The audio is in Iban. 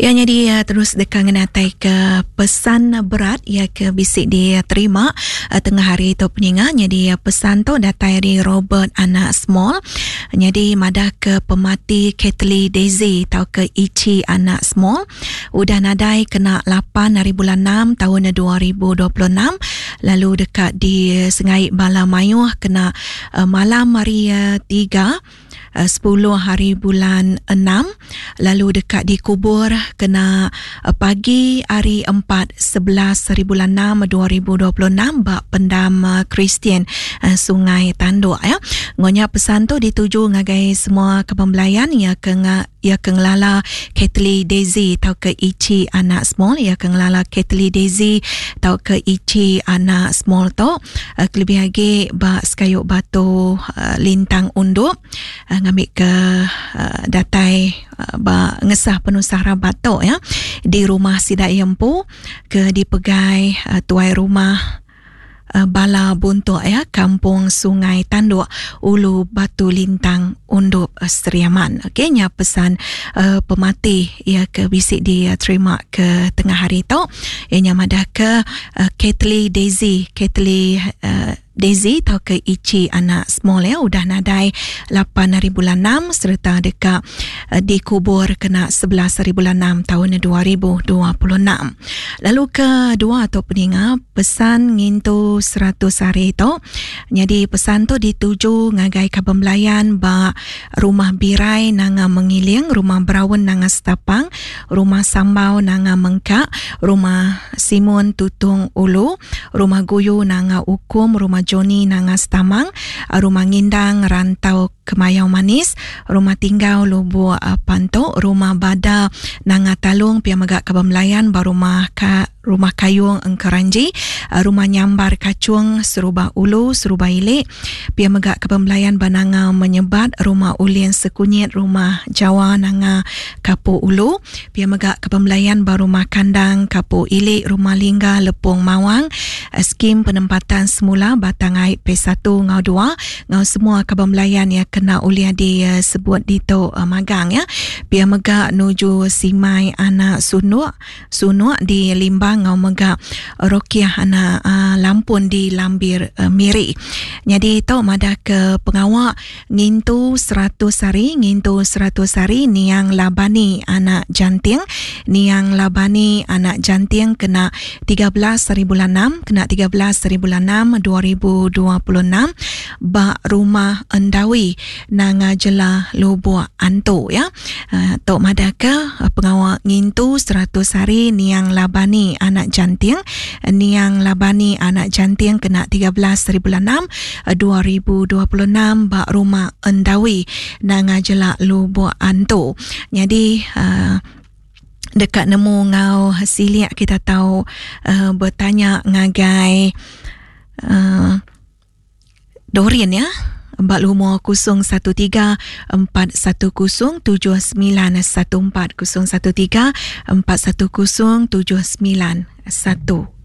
Iya nyadi terus deka ngenatai ke pesan berat iya ke bisi diterima tengah hari tu peninga nyadi pesan tu datai ari Robert anak Small nyadi madah ke pemati Kately Daisy tauka Ichi anak Small udah nadai kena lapan hari bulan enam taun 2026 lalu deka disengai bala mayuh kena malam hari tiga. 10 hari bulan 6 lalu deka dikubur kena pagi hari 4 11 hari bulan 6 2026 ba pendam Kristian Sungai Tanduk ya. Ngonya pesan tu dituju ngagai semua kaban belayan ya ke Iya ke ngelala Kately Daisy tauka Ichi anak Small. Iya ke ngelala Kately Daisy tauka Ichi anak Small tu eh, kelebih agi ba sekayu batu eh, Lintang Undup eh, ngambika datai ba ngesah penusah rabat tu ya di rumah sida iya empu ke dipegai tuai rumah Bala Buntuk iya Kampung Sungai Tanduk Ulu Batu Lintang Undup Sri Aman. Okey nya pesan uh, pemati iya ke bisi diterima ke tengah hari tu. Iya nya madah ke uh, Kately Daisy, Kately uh, Daisy tauka Ichi anak Small ya udah nadai 8 hari bulan 6 sereta deka uh, dikubur kena 11 hari bulan 6 tahun 2026. Lalu ke dua tu peninga pesan ngintu 100 hari tu nyadi pesan tu dituju ngagai kaban belayan ba Rumah Birai Nanga Mengiling, Rumah Braun Nanga Setapang, Rumah Sambau Nanga Mengka, Rumah Simun Tutung Ulu, Rumah Guyu Nanga Ukum, Rumah Joni Nanga Setamang, Rumah Ngindang Rantau Kemayau Manis, Rumah Tinggau Lubuk Pantu, Rumah Bada Nanga Talung pia mega kaban belayan ba Rumah Ka Rumah Kayung Engkeranji, Rumah Nyambar Kachung Serubah Ulu, Serubah Ili, pia mega kaban belayan ba Nanga Menyebat, Rumah Ulin Sekunyit, Rumah Jawa Nanga Kapu Ulu, pia mega kaban belayan ba Rumah Kandang Kapu Ili, Rumah Lingga Lepung Mawang, Skim Penempatan Semula Batang Ai Phase satu enggau dua enggau semua kaban belayan iya kena ulih disebut ditu magang ya. Pia mega nuju Simai anak Sunuk, Sunuk di Limbang enggau mega Rokiah anak Lampun di Lambir Miri. Nyadi tu madah ke pengawa Ngintu 100 hari, ngintu 100 hari niang Labani anak Janting. Niang Labani anak Janting kena 13 hari bulan 6, kena 13 hari bulan 6 2026 ba Rumah Endawi, Nanga Jela, Lubok Antu ya. Uh, tu madahka uh, pengawa ngintu 100 hari niang Labani anak Janting. Niang Labani anak Janting kena 13 hari bulan 6 2026 ba Rumah Endawi Nanga Jelak Lubok Antu. Nyadi uh, deka nemu ngau silik kita tau uh, bertanya ngagai uh, Dorin ya ba lumur 013 410 7914 013 410 7914.